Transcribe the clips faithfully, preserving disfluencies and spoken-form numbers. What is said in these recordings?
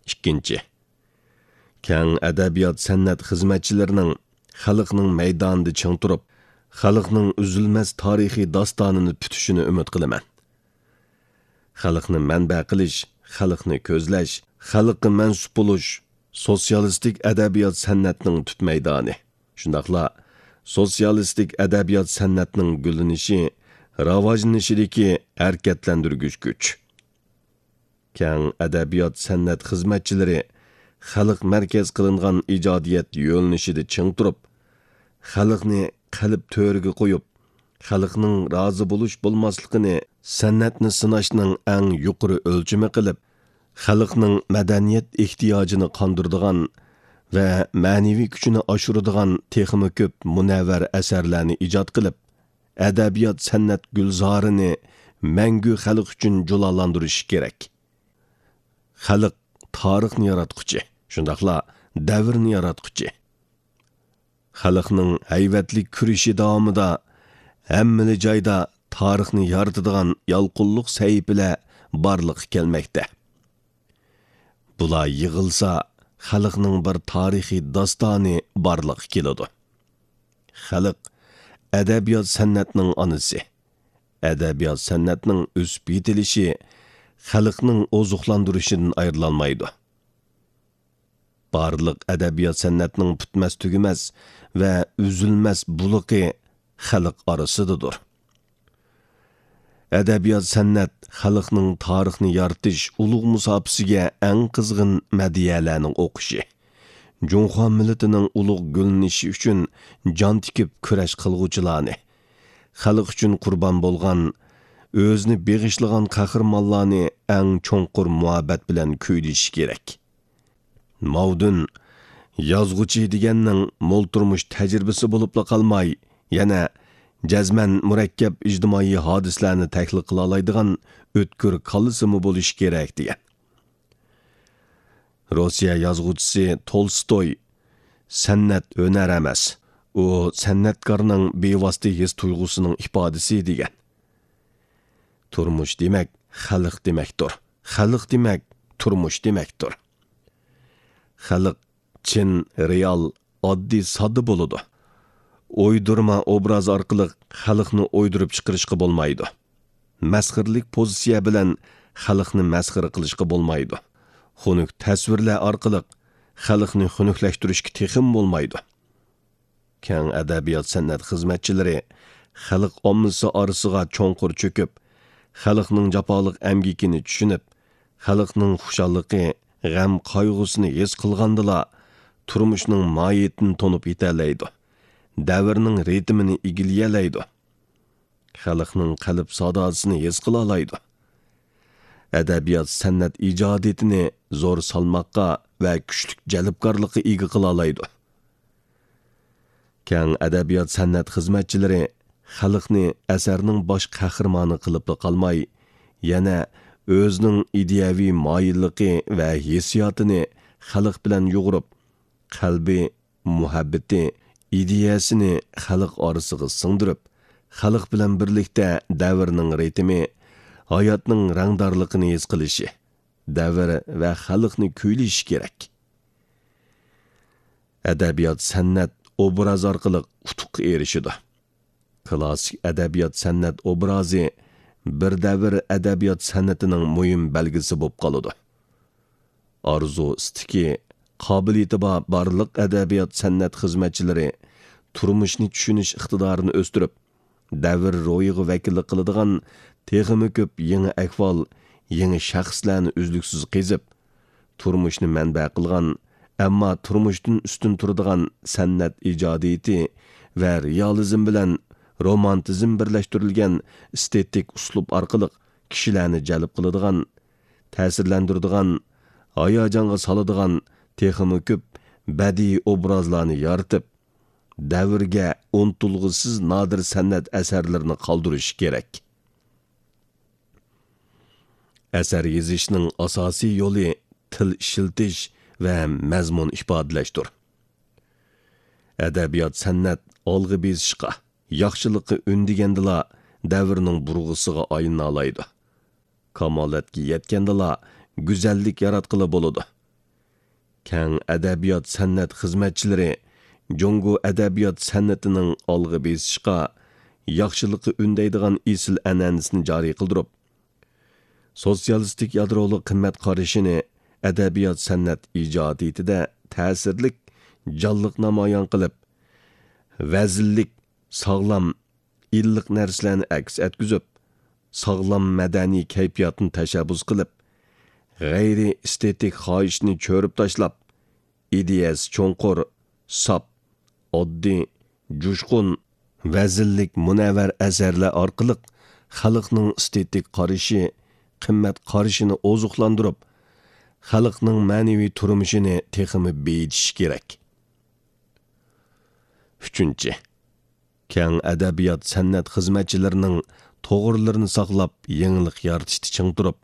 ئىككىنچى، كەڭ ئەدەبىيات-سەنئەت خىزمەتچىلىرىنىڭ خەلقنىڭ مەيدانىدا چىڭ تۇرۇپ، خەلقنىڭ ئۈزۈلمەس تارىخىي داستانىنى پۈتۈشىنى ئۈمىد قىلىمەن. خەلقنى مەنبە قىلىش، خەلقنى كۆزلەش، خەلققە مەنسۇپ بولۇش سوتسىيالىستىك ئەدەبىيات-سەنئەتنىڭ تۈپ مەيدانى. شۇنداقلا سوتسىيالىستىك ئەدەبىيات-سەنئەتنىڭ گۈللىنىشى، راۋاجلىنىشىدىكى ھەرىكەتلەندۈرگۈچ كۈچ. كەڭ ئەدەبىيات-سەنئەت خىزمەتچىلىرى خەلق مەركەز قىلىنغان ئىجادىيەت يۆنىلىشىدە چىڭ تۇرۇپ، خەلقنى قەلب تۆرىگە قويۇپ، خەلقنىڭ رازى بولۇش-بولماسلىقىنى سەنئەتنى سىناشنىڭ ئەڭ يۇقىرى ئۆلچىمى قىلىپ، خەلقنىڭ مەدەنىيەت ئېھتىياجىنى قاندۇرىدىغان ۋە مەنىۋى كۈچىنى ئاشۇرىدىغان تېخىمۇ كۆپ مۇنەۋۋەر ئەسەرلەرنى ئىجاد قىلىپ، ئەدەبىيات-سەنئەت گۈلزارىنى مەڭگۈ خەلق ئۈچۈن جۇلالاندۇرۇشى كېرەك. خەلق تارىخنى ياراتقۇچى، شۇنداقلا دەۋرنى ياراتقۇچى. خەلقنىڭ ھەيۋەتلىك كۈرىشى داۋامىدا ھەممىلا جايدا تارىخنى يارىتىدىغان يالقۇنلۇق سەھىپىلەر بارلىققا كەلمەكتە. بۇلار يىغىلسا، خەلقنىڭ بىر تارىخىي داستانى بارلىققا كېلىدۇ. خەلق ئەدەبىيات-سەنئەتنىڭ ئانىسى. ئەدەبىيات-سەنئەتنىڭ ئۆسۈپ يېتىلىشى خەلقنىڭ ئوزۇقلاندۇرۇشىدىن ئايرىلالمايدۇ. بارلىق ئەدەبىيات-سەنئەتنىڭ پۈتمەس-تۈگىمەس ۋە ئۈزۈلمەس بۇلىقى خەلق ئارىسىدىدۇر. ئەدەبىيات-سەنئەت خەلقنىڭ تارىخنى يارىتىش ئۇلۇغ مۇساپىسىگە ئەڭ قىزغىن مەدھىيەلەرنىڭ ئوقۇشى، جۇڭخۇا مىللىتىنىڭ ئۇلۇغ گۈللىنىشى ئۈچۈن جان تىكىپ كۈرەش قىلغۇچىلارنى، خەلق ئۈچۈن قۇربان بولغان، ئۆزىنى بېغىشلىغان قەھرىمانلارنى ئەڭ چوڭقۇر مۇھەببەت بىلەن كۈيلىشى كېرەك. ماۋدۇن، يازغۇچى دېگەننىڭ مول تۇرمۇش تەجرىبىسى بولۇپلا قالماي، يەنە جەزمەن مۇرەككەپ ئىجتىمائىي ھادىسىلەرنى تەھلىل قىلالايدىغان ئۆتكۈر كاللىسىمۇ بولۇشى كېرەك، دېگەن. روسىيە يازغۇچىسى تولستوي، «سەنئەت ھۈنەر ئەمەس، ئۇ سەنئەتكارنىڭ بىۋاسىتە ھېس تۇيغۇسىنىڭ ئىپادىسى» دېگەن. تۇرمۇش دېمەك، خەلق دېمەكتۇر. خەلق دېمەك، تۇرمۇش دېمەكتۇر. خەلق چىن، رېئال، ئاددىي، ساددا بولىدۇ. ئويدۇرما ئوبراز ئارقىلىق خەلقنى ئويدۇرۇپ چىقىرىشقا بولمايدۇ. مەسخىرىلىك پوزىتسىيە بىلەن خەلقنى مەسخىرە قىلىشقا بولمايدۇ. خۇنۈك تەسۋىرلەر ئارقىلىق خەلقنى خۇنۈكلەشتۈرۈشكە تېخىمۇ بولمايدۇ. كەڭ ئەدەبىيات-سەنئەت خىزمەتچىلىرى خەلق ئاممىسى ئارىسىغا چوڭقۇر چۆكۈپ، خەلقنىڭ جاپالىق ئەمگىكىنى چۈشىنىپ، خەلقنىڭ خۇشاللىقى، غەم-قايغۇسىنى ھېس قىلغاندىلا، تۇرمۇشنىڭ ماھىيىتىنى تونۇپ يېتەلەيدۇ، دەۋرنىڭ رىتىمىنى ئىگىلىيەلەيدۇ، خەلقنىڭ قەلب ساداسىنى ھېس قىلالايدۇ. ئەدەبىيات-سەنئەت ئىجادىيىتىنى زور سالماققا ۋە كۈچلۈك جەلپكارلىققا ئىگە قىلالايدۇ. كەڭ ئەدەبىيات-سەنئەت خىزمەتچىلىرى خەلقنى ئەسەرنىڭ باش قەھرىمانى قىلىپلا قالماي، يەنە ئۆزىنىڭ ئىدىيەۋى مايىللىقى ۋە ھېسسىياتىنى خەلق بىلەن يۇغۇرۇپ، قەلبى، مۇھەببىتى، ئىدىيەسىنى خەلق ئارىسىغا سىڭدۈرۈپ، خەلق بىلەن بىرلىكتە دەۋرنىڭ رىتىمى، ھاياتنىڭ رەڭدارلىقىنى ھېس قىلىشى، دەۋر ۋە خەلقنى كۈيلىشى كېرەك. ئەدەبىيات-سەنئەت ئوبراز ئارقىلىق ئۇتۇققا ئېرىشىدۇ. كىلاسسىك ئەدەبىيات-سەنئەت ئوبرازى بىر دەۋر ئەدەبىيات-سەنئىتىنىڭ مۇھىم بەلگىسى بولۇپ قالىدۇ. ئارزۇ ئىستىكى، قابىلىيىتى بار بارلىق ئەدەبىيات-سەنئەت خىزمەتچىلىرى تۇرمۇشنى چۈشىنىش ئىقتىدارىنى ئۆستۈرۈپ، دەۋر روھىغا ۋەكىللىك قىلىدىغان تېخىمۇ كۆپ يېڭى ئەھۋال، يېڭى شەخسلەرنى ئۈزلۈكسىز قېزىپ، تۇرمۇشنى مەنبە قىلغان، ئەمما تۇرمۇشتىن ئۈستۈن تۇرىدىغان سەنئەت ئىجادىيىتى ۋە رېئالىزم بىلەن رومانتىزم بىرلەشتۈرۈلگەن ئېستېتىك ئۇسلۇب ئارقىلىق كىشىلەرنى جەلپ قىلىدىغان، تەسىرلەندۈرىدىغان، ھاياجانغا سالىدىغان تېخىمۇ كۆپ بەدىئىي ئوبرازلارنى يارىتىپ، دەۋرگە ئۇنتۇلغۇسىز نادىر سەنئەت ئەسەرلىرىنى قالدۇرۇشى كېرەك. ئەسەر يېزىشنىڭ ئاساسىي يولى تىل ئىشلىتىش ۋە مەزمۇن ئىپادىلەشتۇر. ئەدەبىيات-سەنئەت ئالغا بېسىشقا، ياخشىلىققا ئۈندىگەندىلا، دەۋرنىڭ بۇرغىسىغا ئايلىنالايدۇ. كامالەتكە يەتكەندىلا، گۈزەللىك ياراتقىلى بولىدۇ. كەڭ ئەدەبىيات-سەنئەت خىزمەتچىلىرى جۇڭگو ئەدەبىيات-سەنئىتىنىڭ ئالغا بېسىشقا، ياخشىلىققا ئۈندەيدىغان ئېسىل ئەنئەنىسىنى جارى قىلدۇرۇپ، سوتسىيالىستىك يادرولۇق قىممەت قارىشىنى ئەدەبىيات-سەنئەت ئىجادىيىتىدە تەسىرلىك، جانلىق نامايان قىلىپ، ۋەزىنلىك، ساغلام، ئىللىق نەرسىلەرنى ئەكس ئەتكۈزۈپ، ساغلام مەدەنىي كەيپىياتنى تەشەببۇس قىلىپ، غەيرىي ئېستېتىك خاھىشنى چۆرۈپ تاشلاپ، ئىدىيەسى چوڭقۇر، ساپ، ئاددىي، جۇشقۇن، ۋەزىنلىك مۇنەۋۋەر ئەسەرلەر ئارقىلىق خەلقنىڭ ئېستېتىك قارىشى، قىممەت قارىشىنى ئوزۇقلاندۇرۇپ، خەلقنىڭ مەنىۋى تۇرمۇشىنى تېخىمۇ بېيىتىشى كېرەك. ئۈچىنچى، كەڭ ئەدەبىيات-سەنئەت خىزمەتچىلىرىنىڭ توغرىلىرىنى ساقلاپ، يېڭىلىق يارىتىشتا چىڭ تۇرۇپ،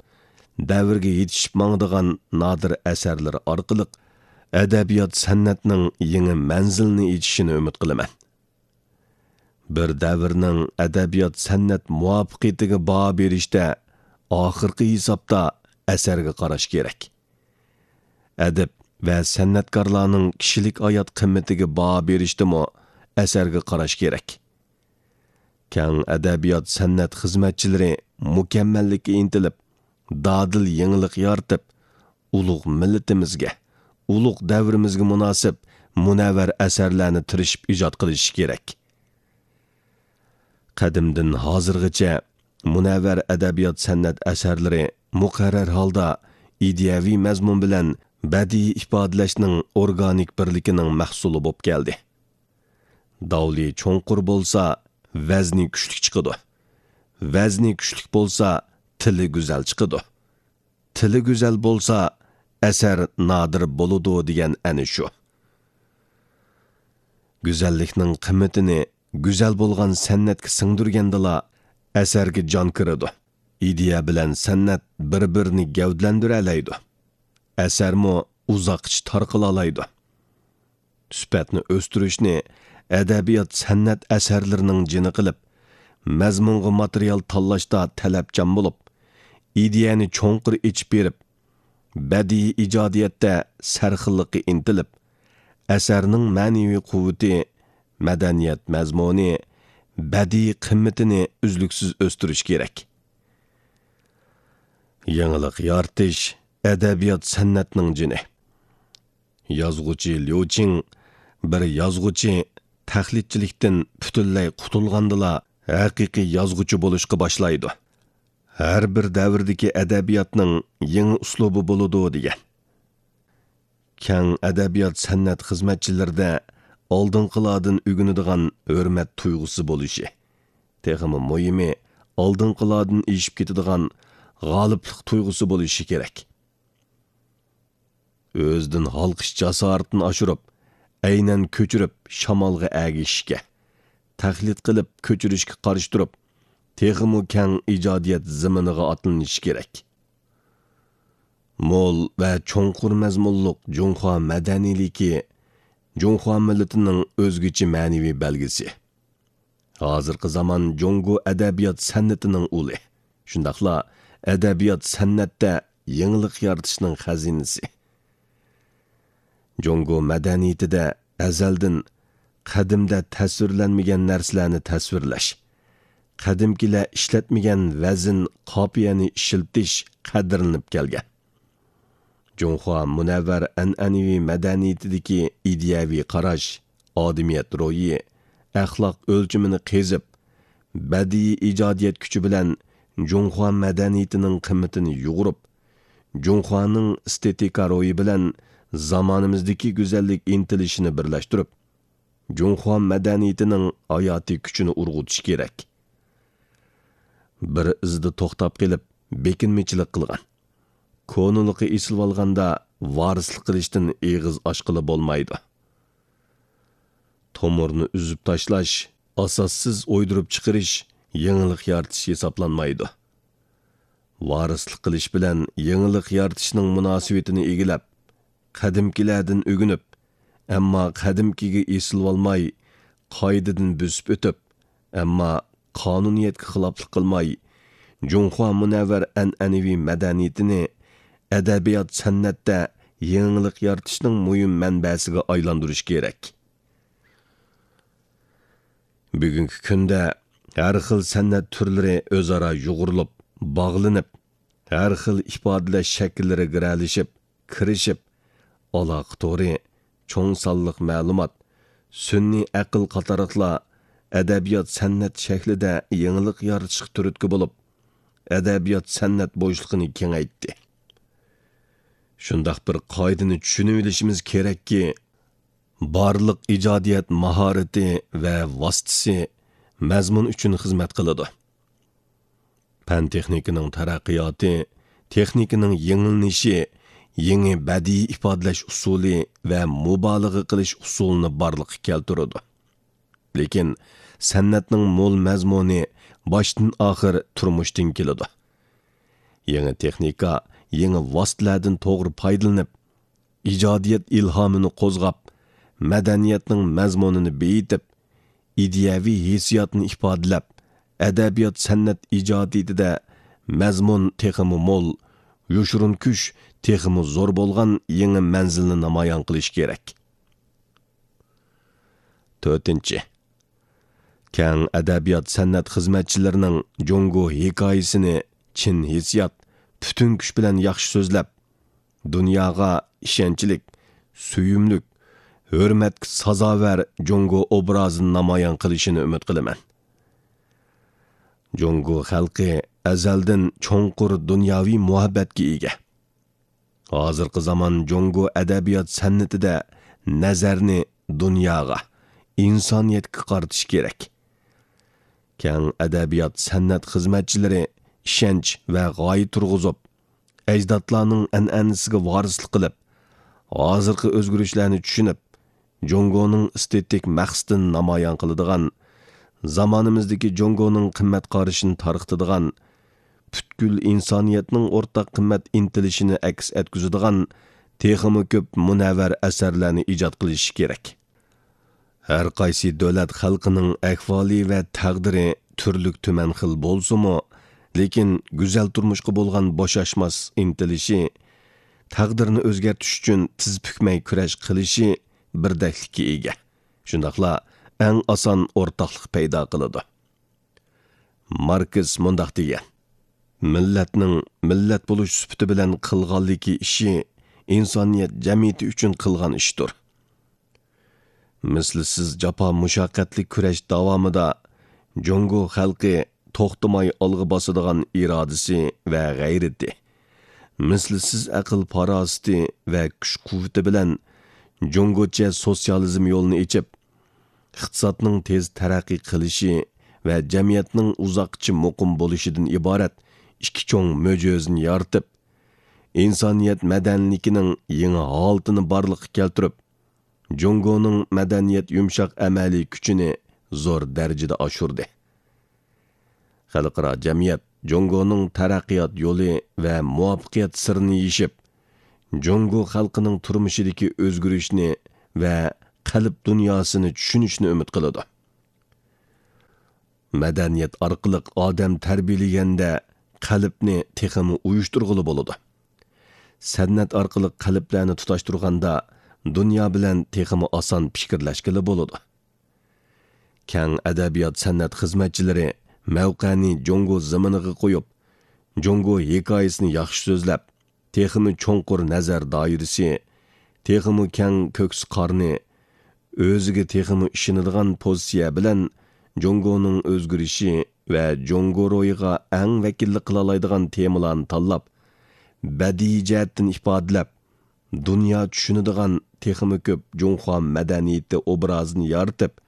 دەۋرگە يېتىشىپ ماڭىدىغان نادىر ئەسەرلىرى ئارقىلىق ئەدەبىيات-سەنئەتنىڭ يېڭى مەنزىلىنى ئېچىشىنى ئۈمىد قىلىمەن. بىر دەۋرنىڭ ئەدەبىيات-سەنئەت مۇۋەپپەقىيىتىگە باھا بېرىشتە ئاخىرقى ھېسابتا ئەسەرگە قاراش كېرەك. ئەدىب ۋە سەنئەتكارلارنىڭ كىشىلىك ھايات قىممىتىگە باھا بېرىشتىمۇ ئەسەرگە قاراش كېرەك. كەڭ ئەدەبىيات-سەنئەت خىزمەتچىلىرى مۇكەممەللىككە ئىنتىلىپ، دادىل يېڭىلىق يارىتىپ، ئۇلۇغ مىللىتىمىزگە، ئۇلۇغ دەۋرىمىزگە مۇناسىپ مۇنەۋۋەر ئەسەرلەرنى تىرىشىپ ئىجاد قىلىشى كېرەك. قەدىمدىن ھازىرغىچە مۇنەۋۋەر ئەدەبىيات-سەنئەت ئەسەرلىرى مۇقەررەر ھالدا ئىدىيەۋى مەزمۇن بىلەن بەدىئىي ئىپادىلەشنىڭ ئورگانىك بىرلىكىنىڭ مەھسۇلى بولۇپ كەلدى. داۋلى چوڭقۇر بولسا، ۋەزنى كۈچلۈك چىقىدۇ. ۋەزنى كۈچلۈك بولسا، تىلى گۈزەل چىقىدۇ. تىلى گۈزەل بولسا، ئەسەر نادىر بولىدۇ دېگەن ئەنە شۇ. گۈزەللىكنىڭ قىممىتىنى گۈزەل بولغان سەنئەتكە سىڭدۈرگەندىلا، ئەسەرگە جان كىرىدۇ. ئىدىيە بىلەن سەنئەت بىر-بىرىنى گەۋدىلەندۈرەلەيدۇ. ئەسەرمۇ ئۇزاققىچە تارقىلالايدۇ. سۈپەتنى ئۆستۈرۈشنى ئەدەبىيات-سەنئەت ئەسەرلىرىنىڭ جېنى قىلىپ، مەزمۇنغا ماتېرىيال تاللاشتا تەلەپچان بولۇپ، ئىدىيەنى چوڭقۇر ئېچىپ بېرىپ، بەدىئىي ئىجادىيەتتە سەرخىللىققا ئىنتىلىپ، ئەسەرنىڭ مەنىۋى قۇۋۋىتى، مەدەنىيەت مەزمۇنى، بەدىئىي قىممىتىنى ئۈزلۈكسىز ئۆستۈرۈش كېرەك. يېڭىلىق يارىتىش ئەدەبىيات-سەنئەتنىڭ جېنى. يازغۇچى ليۇ چىڭ، بىر يازغۇچى تەقلىدچىلىكتىن پۈتۈنلەي قۇتۇلغاندىلا، ھەقىقىي يازغۇچى بولۇشقا باشلايدۇ. ھەر بىر دەۋردىكى ئەدەبىياتنىڭ يېڭى ئۇسلۇبى بولىدۇ، دېگەن. كەڭ ئەدەبىيات-سەنئەت خىزمەتچىلىرىدە ئالدىنقىلاردىن ئۆگىنىدىغان ھۆرمەت تۇيغۇسى بولۇشى، تېخىمۇ مۇھىمى، ئالدىنقىلاردىن ئېشىپ كېتىدىغان غالىبلىق تۇيغۇسى بولۇشى كېرەك. ئۆزىدىن ھالقىش جاسارىتىنى ئاشۇرۇپ، ئەينەن كۆچۈرۈپ شامالغا ئەگىشىشكە، تەقلىد قىلىپ كۆچۈرۈشكە قارشى تۇرۇپ، تېخىمۇ كەڭ ئىجادىيەت زېمىنىغا ئاتلىنىشى كېرەك. مول ۋە چوڭقۇر مەزمۇنلۇق جۇڭخۇا مەدەنىيلىكى جۇڭخۇا مىللىتىنىڭ ئۆزگىچە مەنىۋى بەلگىسى. ھازىرقى زامان جۇڭگو ئەدەبىيات سەنئىتىنىڭ ئۇلى، شۇنداقلا ئەدەبىيات سەنئەتتە يېڭىلىق يارىتىشنىڭ خەزىنىسى. جۇڭگو مەدەنىيىتىدە ئەزەلدىن قەدىمدە تەسۋىرلەنمىگەن نەرسىلەرنى تەسۋىرلەش، قەدىمكىلەر ئىشلەتمىگەن ۋەزىن، قاپىيەنى ئىشلىتىش قەدىرلىنىپ كەلگەن. جۇڭخۇا مۇنەۋۋەر ئەنئەنىۋى مەدەنىيىتىدىكى ئىدىيەۋى قاراش، ئادىمىيەت روھى، ئەخلاق ئۆلچىمىنى قېزىپ، بەدىئىي ئىجادىيەت كۈچى بىلەن جۇڭخۇا مەدەنىيىتىنىڭ قىممىتىنى يۇغۇرۇپ، جۇڭخۇانىڭ ئېستېتىكا روھى بىلەن زامانىمىزدىكى گۈزەللىك ئىنتىلىشىنى بىرلەشتۈرۈپ، جۇڭخۇا مەدەنىيىتىنىڭ ھاياتىي كۈچىنى ئۇرغۇتۇش كېرەك. بىر ئىزدا توختاپ قېلىپ، بېكىنمىچىلىك قىلغان، كونىلىقى ئېسىلىۋالغاندا ۋارىسلىق قىلىشتىن ئېغىز ئاچقىلى بولمايدۇ. تومۇرنى ئۈزۈپ تاشلاش، ئاساسسىز ئويدۇرۇپ چىقىرىش يېڭىلىق يارىتىش ھېسابلانمايدۇ. ۋارىسلىق قىلىش بىلەن يېڭىلىق يارىتىشنىڭ مۇناسىۋىتىنى ئىگىلەپ، قەدىمكىلەردىن ئۆگىنىپ، ئەمما قەدىمكىگە ئېسىلىۋالماي، قائىدىدىن بۆسۈپ ئۆتۈپ، ئەمما قانۇنىيەتكە خىلاپلىق قىلماي، جۇڭخۇا مۇنەۋۋەر ئەنئەنىۋى مەدەنىيىتىنى ئەدەبىيات سەنئەتتە يېڭىلىق يارىتىشنىڭ مۇھىم مەنبەسىگە ئايلاندۇرۇش كېرەك. بۈگۈنكى كۈندە ھەر خىل سەنئەت تۈرلىرى ئۆزئارا يۇغۇرۇلۇپ، باغلىنىپ، ھەر خىل ئىپادىلەش شەكىللىرى گىرەلىشىپ، كىرىشىپ، ئالاقە تورى، چوڭ سانلىق مەلۇمات، سۈنئىي ئەقىل قاتارلىقلار ئەدەبىيات-سەنئەت شەكلىدە يېڭىلىق يارىتىشقا تۈرتكە بولۇپ، ئەدەبىيات-سەنئەت بوشلۇقىنى كېڭەيتتى. شۇنداق بىر قائىدىنى چۈشىنىۋېلىشىمىز كېرەككى، بارلىق ئىجادىيەت ماھارىتى ۋە ۋاسىتىسى مەزمۇن ئۈچۈن خىزمەت قىلىدۇ. پەن-تېخنىكىنىڭ تەرەققىياتى تېخنىكىنىڭ يېڭىلىنىشى، يېڭى بەدىئىي ئىپادىلەش ئۇسۇلى ۋە مۇبالىغە قىلىش ئۇسۇلىنى بارلىققا كەلتۈرىدۇ. لېكىن سەنئەتنىڭ مول مەزمۇنى باشتىن-ئاخىر تۇرمۇشتىن كېلىدۇ. يېڭى تېخنىكا، يېڭى ۋاسىتىلەردىن توغرا پايدىلىنىپ، ئىجادىيەت ئىلھامىنى قوزغاپ، مەدەنىيەتنىڭ مەزمۇنىنى بېيىتىپ، ئىدىيەۋى ھېسسىياتنى ئىپادىلەپ، ئەدەبىيات-سەنئەت ئىجادىيىتىدە مەزمۇن تېخىمۇ مول، يوشۇرۇن كۈچ تېخىمۇ زور بولغان يېڭى مەنزىلنى نامايان قىلىش كېرەك. تۆتىنچى، كەڭ ئەدەبىيات-سەنئەت خىزمەتچىلىرىنىڭ جۇڭگو ھېكايىسىنى چىن ھېسسىيات، پۈتۈن كۈچ بىلەن ياخشى سۆزلەپ، دۇنياغا ئىشەنچلىك، سۆيۈملۈك، ھۆرمەتكە سازاۋەر جۇڭگو ئوبرازىنى نامايان قىلىشىنى ئۈمىد قىلىمەن. جۇڭگو خەلقى ئەزەلدىن چوڭقۇر دۇنياۋى مۇھەببەتكە ئىگە. ھازىرقى زامان جۇڭگو ئەدەبىيات-سەنئىتىدە نەزەرنى دۇنياغا، ئىنسانىيەتكە قارىتىش كېرەك. كەڭ ئەدەبىيات-سەنئەت خىزمەتچىلىرى ئىشەنچ ۋە غايە تۇرغۇزۇپ، ئەجدادلارنىڭ ئەنئەنىسىگە ۋارىسلىق قىلىپ، ھازىرقى ئۆزگىرىشلەرنى چۈشىنىپ، جۇڭگونىڭ ئېستېتىك مەقسىتىنى نامايان قىلىدىغان، زامانىمىزدىكى جۇڭگونىڭ قىممەت قارىشىنى تارقىتىدىغان، پۈتكۈل ئىنسانىيەتنىڭ ئورتاق قىممەت ئىنتىلىشىنى ئەكس ئەتكۈزىدىغان تېخىمۇ كۆپ مۇنەۋۋەر ئەسەرلەرنى ئىجاد قىلىشى كېرەك. ھەر قايسى دۆلەت خەلقىنىڭ ئەھۋالى ۋە تەقدىرى تۈرلۈك تۈمەن خىل بولسىمۇ، لېكىن گۈزەل تۇرمۇشقا بولغان بوشاشماس ئىنتىلىشى، تەقدىرنى ئۆزگەرتىش ئۈچۈن تىز پۈكمەي كۈرەش قىلىشى بىردەكلىككە ئىگە. شۇنداقلا ئەڭ ئاسان ئورتاقلىق پەيدا قىلىدۇ. ماركس مۇنداق دېگەن: «مىللەتنىڭ مىللەت بولۇش سۈپىتى بىلەن قىلغانلىكى ئىشى ئىنسانىيەت جەمئىيىتى ئۈچۈن قىلغان ئىشتۇر.» مىسلىسىز جاپا-مۇشەققەتلىك كۈرەش داۋامىدا جۇڭگو خەلقى توختىماي ئالغا باسىدىغان ئىرادىسى ۋە غەيرىتى، مىسلىسىز ئەقىل-پاراسىتى ۋە كۈچ-قۇۋۋىتى بىلەن جۇڭگوچە سوتسىيالىزم يولىنى ئېچىپ، ئىقتىسادنىڭ تېز تەرەققىي قىلىشى ۋە جەمئىيەتنىڭ ئۇزاققىچە مۇقىم بولۇشىدىن ئىبارەت ئىككى چوڭ مۆجىزىنى يارىتىپ، ئىنسانىيەت مەدەنىيلىكىنىڭ يېڭى ھالىتىنى بارلىققا كەلتۈرۈپ، جۇڭگونىڭ مەدەنىيەت يۇمشاق ئەمەلىي كۈچىنى زور دەرىجىدە ئاشۇردى. خەلقئارا جەمئىيەت جۇڭگونىڭ تەرەققىيات يولى ۋە مۇۋەپپەقىيەت سىرىنى يېشىپ، جۇڭگو خەلقىنىڭ تۇرمۇشىدىكى ئۆزگىرىشنى ۋە قەلب دۇنياسىنى چۈشىنىشنى ئۈمىد قىلىدۇ. مەدەنىيەت ئارقىلىق ئادەم تەربىيەلىگەندە، قەلبنى تېخىمۇ ئۇيۇشتۇرغىلى بولىدۇ. سەنئەت ئارقىلىق قەلبلەرنى تۇتاشتۇرغاندا، دۇنيا بىلەن تېخىمۇ ئاسان پىكىرلەشكىلى بولىدۇ. كەڭ ئەدەبىيات-سەنئەت خىزمەتچىلىرى مەۋقەنى جۇڭگو زېمىنىغا قويۇپ، جۇڭگو ھېكايىسىنى ياخشى سۆزلەپ، تېخىمۇ چوڭقۇر نەزەر دائىرىسى، تېخىمۇ كەڭ كۆكسى-قارنى، ئۆزىگە تېخىمۇ ئىشىنىدىغان پوزىتسىيە بىلەن جۇڭگونىڭ ئۆزگىرىشى ۋە جۇڭگو روھىغا ئەڭ ۋەكىللىك قىلالايدىغان تېمىلارنى تاللاپ، بەدىئىي جەھەتتىن ئىپادىلەپ، دۇنيا چۈشىنىدىغان تېخىمۇ كۆپ جۇڭخۇا مەدەنىيىتى ئوبرازىنى يارىتىپ،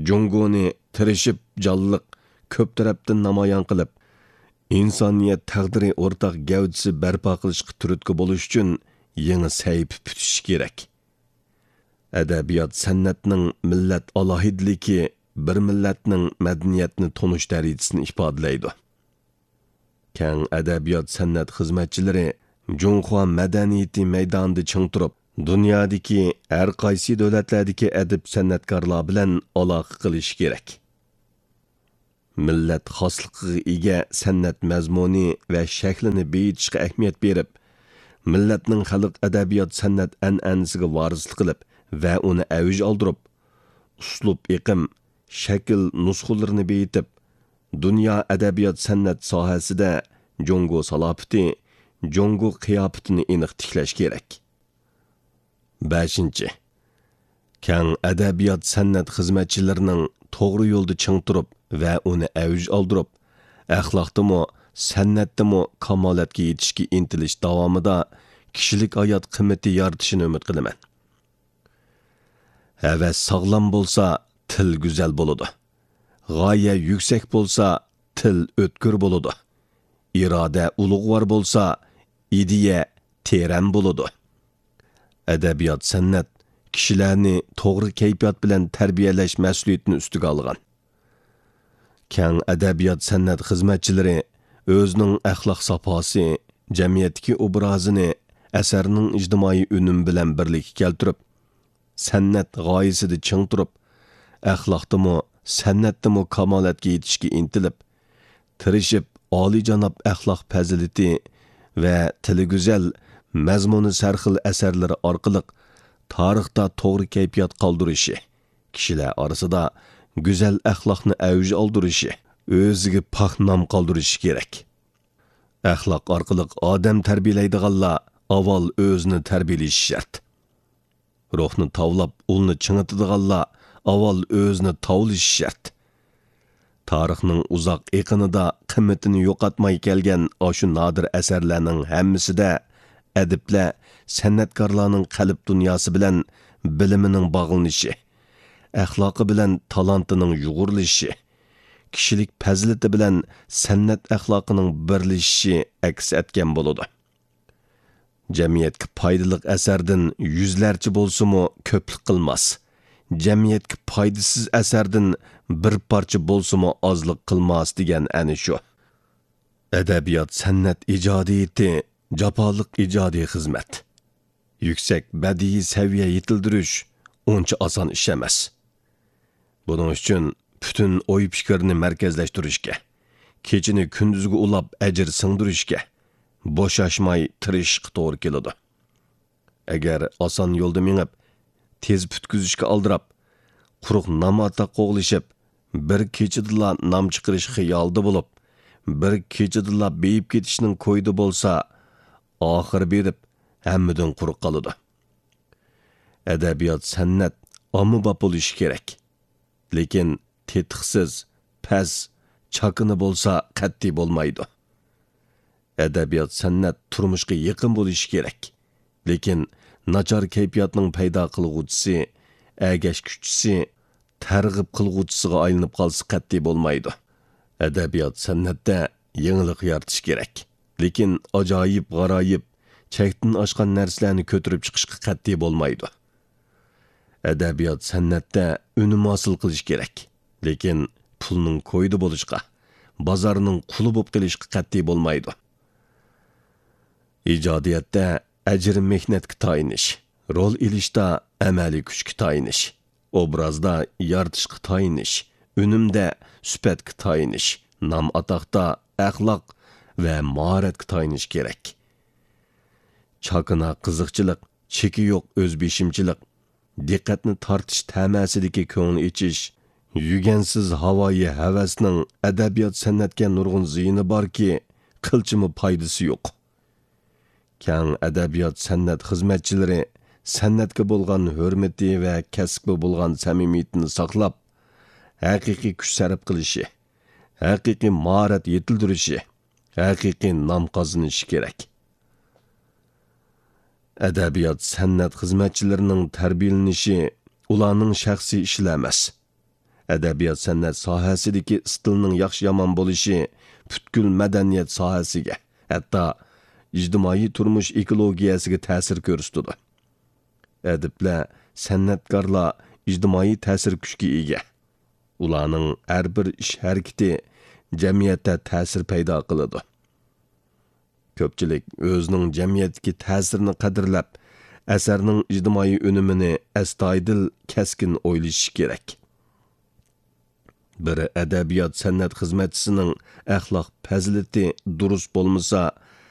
جۇڭگونى تىرىشىپ جانلىق، كۆپ تەرەپتىن نامايان قىلىپ، ئىنسانىيەت تەقدىرى ئورتاق گەۋدىسى بەرپا قىلىشقا تۈرتكە بولۇش ئۈچۈن يېڭى سەھىپە پۈتۈشى كېرەك. ئەدەبىيات-سەنئەتنىڭ مىللەت ئالاھىدىلىكى بىر مىللەتنىڭ مەدەنىيەتنى تونۇش دەرىجىسىنى ئىپادىلەيدۇ. كەڭ ئەدەبىيات-سەنئەت خىزمەتچىلىرى جۇڭخۇا مەدەنىيىتى مەيدانىدا چىڭ تۇرۇپ، دۇنيادىكى ھەر قايسى دۆلەتلەردىكى ئەدىب-سەنئەتكارلار بىلەن ئالاقە قىلىشى كېرەك. مىللەت خاسلىقىغا ئىگە سەنئەت مەزمۇنى ۋە شەكلىنى بېيىتىشقا ئەھمىيەت بېرىپ، مىللەتنىڭ خەلق ئەدەبىيات-سەنئەت ئەنئەنىسىگە ۋارىسلىق قىلىپ ۋە ئۇنى ئەۋج ئالدۇرۇپ، ئۇسلۇب ئېقىم، شەكىل نۇسخىلىرىنى بېيىتىپ، دۇنيا ئەدەبىيات-سەنئەت ساھەسىدە جۇڭگو سالاپىتى، جۇڭگو قىياپىتىنى ئېنىق تىكلەش كېرەك. بەشىنچى، كەڭ ئەدەبىيات-سەنئەت خىزمەتچىلىرىنىڭ توغرا يولدا چىڭ تۇرۇپ ۋە ئۇنى ئەۋج ئالدۇرۇپ، ئەخلاقتىمۇ، سەنئەتتىمۇ كامالەتكە يېتىشكە ئىنتىلىش داۋامىدا كىشىلىك ھايات قىممىتى يارىتىشىنى ئۈمىد قىلىمەن. ھەۋەس ساغلام بولسا، تىل گۈزەل بولىدۇ. غايە يۈكسەك بولسا، تىل ئۆتكۈر بولىدۇ. ئىرادە ئۇلۇغۋار بولسا، ئىدىيە تېرەن بولىدۇ. ئەدەبىيات-سەنئەت كىشىلەرنى توغرا كەيپىيات بىلەن تەربىيەلەش مەسئۇلىيىتىنى ئۈستىگە ئالغان. كەڭ ئەدەبىيات-سەنئەت خىزمەتچىلىرى ئۆزىنىڭ ئەخلاق ساپاسى، جەمئىيەتتىكى ئوبرازىنى ئەسەرنىڭ ئىجتىمائىي ئۈنۈمى بىلەن بىرلىككە كەلتۈرۈپ، سەنئەت غايىسىدە چىڭ تۇرۇپ، ئەخلاقتىمۇ، سەنئەتتىمۇ كامالەتكە يېتىشكە ئىنتىلىپ، تىرىشىپ، ئالىيجاناب ئەخلاق پەزىلىتى ۋە تىلى گۈزەل، مەزمۇنى سەرخىل ئەسەرلىرى ئارقىلىق تارىختا توغرا كەيپىيات قالدۇرۇشى، كىشىلەر ئارىسىدا گۈزەل ئەخلاقنى ئەۋج ئالدۇرۇشى، ئۆزىگە پاك نام قالدۇرۇشى كېرەك. ئەخلاق ئارقىلىق ئادەم تەربىيەلەيدىغانلار ئاۋۋال ئۆزىنى تەربىيەلىشى شەرت. روھنى تاۋلاپ، ئۇلنى چىڭىتىدىغانلار ئاۋۋال ئۆزىنى تاۋلىشى شەرت. تارىخنىڭ ئۇزاق ئېقىنىدا قىممىتىنى يوقاتماي كەلگەن ئاشۇ نادىر ئەسەرلەرنىڭ ھەممىسىدە ئەدىبلەر، سەنئەتكارلارنىڭ قەلب دۇنياسى بىلەن بىلىمىنىڭ باغلىنىشى، ئەخلاقى بىلەن تالانتىنىڭ يۇغۇرۇلۇشى، كىشىلىك پەزىلىتى بىلەن سەنئەت ئەخلاقىنىڭ بىرلىشىشى ئەكس ئەتكەن بولىدۇ. جەمئىيەتكە پايدىلىق ئەسەردىن يۈزلەرچە بولسىمۇ كۆپلۈك قىلماس، جەمئىيەتكە پايدىسىز ئەسەردىن بىر پارچە بولسىمۇ ئازلىق قىلماس دېگەن ئەنە شۇ. ئەدەبىيات-سەنئەت ئىجادىيىتى جاپالىق ئىجادىي خىزمەت. يۈكسەك بەدىئىي سەۋىيە يېتىلدۈرۈش ئۇنچە ئاسان ئىش ئەمەس. بۇنىڭ ئۈچۈن پۈتۈن ئوي-پىكىرنى مەركەزلەشتۈرۈشكە، كېچىنى كۈندۈزگە ئۇلاپ ئەجىر سىڭدۈرۈشكە، بوشاشماي تىرىشىشقا توغرا كېلىدۇ. ئەگەر ئاسان يولدا مېڭىپ، تېز پۈتكۈزۈشكە ئالدىراپ، قۇرۇق نام-ئاتاق قوغلىشىپ، بىر كېچىدىلا نام چىقىرىش خىيالىدا بولۇپ، بىر كېچىدىلا بېيىپ كېتىشنىڭ كويىدا بولسا، ئاخىرى بېرىپ ھەممىدىن قۇرۇق قالىدۇ. ئەدەبىيات-سەنئەت ئاممىباب بولۇشى كېرەك. لېكىن تېتىقسىز، پەس، چاكىنا بولسا قەتئىي بولمايدۇ. ئەدەبىيات-سەنئەت تۇرمۇشقا يېقىن بولۇشى كېرەك. لېكىن ناچار كەيپىياتنىڭ پەيدا قىلغۇچىسى، ئەگەشكۈچىسى، تەرغىب قىلغۇچىسىغا ئايلىنىپ قالسا قەتئىي بولمايدۇ. ئەدەبىيات-سەنئەتتە يېڭىلىق يارىتىش كېرەك. لېكىن ئاجايىپ-غارايىپ، چەكتىن ئاشقان نەرسىلەرنى كۆتۈرۈپ چىقىشقا قەتئىي بولمايدۇ. ئەدەبىيات-سەنئەتتە ئۈنۈم ھاسىل قىلىش كېرەك. لېكىن پۇلنىڭ كويىدا بولۇشقا، بازارنىڭ قۇلى بولۇپ قېلىشقا قەتئىي بولمايدۇ. ئىجادىيەتتە ئەجىر مېھنەتكە تايىنىش، رول ئېلىشتا ئەمەلىي كۈچكە تايىنىش، ئوبرازدا يارىتىشقا تايىنىش، ئۈنۈمدە سۈپەتكە تايىنىش، نام-ئاتاقتا ئەخلاق ۋە ماھارەتكە تايىنىش كېرەك. چاكىنا قىزىقچىلىق، چېكى يوق ئۆزبېشىمچىلىق، دىققەتنى تارتىش تەمەسىدىكى كۆڭۈل ئېچىش، يۈگەنسىز ھاۋايى ھەۋەسنىڭ ئەدەبىيات-سەنئەتكە نۇرغۇن زىيىنى باركى، قىلچىمۇ پايدىسى يوق. كەڭ ئەدەبىيات-سەنئەت خىزمەتچىلىرى سەنئەتكە بولغان ھۆرمىتى ۋە كەسىپكە بولغان سەمىمىيىتىنى ساقلاپ، ھەقىقىي كۈچ سەرپ قىلىشى، ھەقىقىي ماھارەت يېتىلدۈرۈشى، ھەقىقىي نام قازىنىشى كېرەك. ئەدەبىيات-سەنئەت خىزمەتچىلىرىنىڭ تەربىيەلىنىشى ئۇلارنىڭ شەخسىي ئىشىلا ئەمەس. ئەدەبىيات-سەنئەت ساھەسىدىكى ئىستىلنىڭ ياخشى-يامان بولۇشى پۈتكۈل مەدەنىيەت ساھەسىگە، ھەتتا ئىجتىمائىي تۇرمۇش ئېكولوگىيەسىگە تەسىر كۆرسىتىدۇ. ئەدىبلەر، سەنئەتكارلار ئىجتىمائىي تەسىر كۈچكە ئىگە. ئۇلارنىڭ ھەر بىر ئىش-ھەرىكىتى جەمئىيەتتە تەسىر پەيدا قىلىدۇ. كۆپچىلىك ئۆزىنىڭ جەمئىيەتتىكى تەسىرىنى قەدىرلەپ، ئەسەرنىڭ ئىجتىمائىي ئۈنۈمىنى ئەستايىدىل، كەسكىن ئويلىشىشى كېرەك. بىر ئەدەبىيات-سەنئەت خىزمەتچىسىنىڭ ئەخلاق پەزىلىتى دۇرۇس بولمىسا،